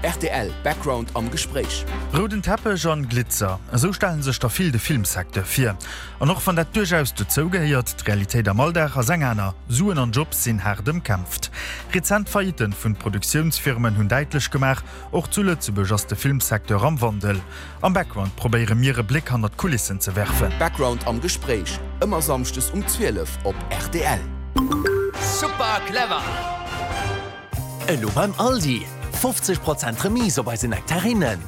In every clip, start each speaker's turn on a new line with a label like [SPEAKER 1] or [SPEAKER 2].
[SPEAKER 1] Rtl Background am Gespréich.
[SPEAKER 2] Rouden Teppech an Glitzer, esou stellen sech der vill de Filmsecteur vir. An och wann dat duerchaus dozou gehéiert, d'Realitéit am Alldag ass eng aner, Suen an Jobs sinn haart ëmkämpft. Rezent Faillitten vun Produktiounsfirmen hunn däitlech gemaach, och zu Lëtzebuerg ass de Filmsecteur am Wandel. Am Background probéiere mir e Bléck hannert d'Kulissen ze werfen.
[SPEAKER 1] Background am Gespréich, ëmmer Samschdes um 12 op rtl.
[SPEAKER 3] Super clever!
[SPEAKER 4] Elo beim Aldi, 50 Prozent Remise op eise Nektarinnen.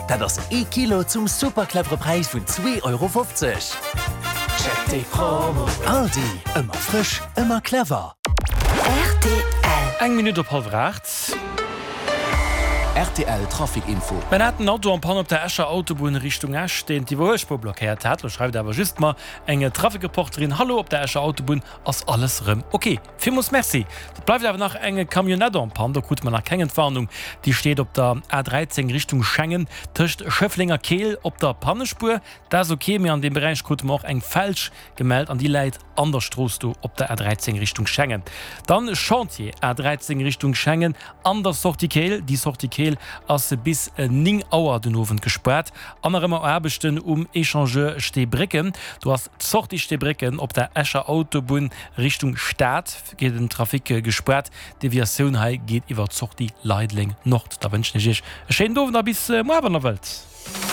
[SPEAKER 4] Dat ass ee Kilo zum super clevere Präis vun 2,50 Euro. Check déi Promo! Aldi, ëmmer frësch, ëmmer clever.
[SPEAKER 5] Rtl.
[SPEAKER 6] Eng Minutt op hallwer 8.
[SPEAKER 1] Rtl Trafic Info.
[SPEAKER 6] Mir haten en Auto en panne op der Escher Autobunn Richtung Esch, deen d'Iwwerhuelspuer blockéiert hat. Lo schreift awer just mer eng Traficreporterin, Hallo, op der Escher Autobunn ass alles rëm ok. Villmools Merci. Et bleift awer nach eng Camionnette en panne, do krute mer nach keng Entwarnung. Déi steet op der A13 Richtung Schengen tëscht Schëffleng a Keel op der Pannespuer. Dat ass ok, mee an deem Beräich krute mer och eng Felsch gemellt an déi läit an der Strooss do op der A13 Richtung Schengen. Dann Chantier A13 Richtung Schengen an der Sortie Keel. Déi Sortie Keel ass bis 9 Auer den Owend gespaart. An nach ëmmer Aarbechten um Echangeur Steebrécken. Do ass d'Sortie Steebrécken op der Escher Autobunn Richtung Stad geet den Trafic gespaart. D'Deviatioun hei geet iwwer d'Sortie Leideleng Nord. Da wënschen ech Iech e schéinen Owend a bis muar wann der wëllt.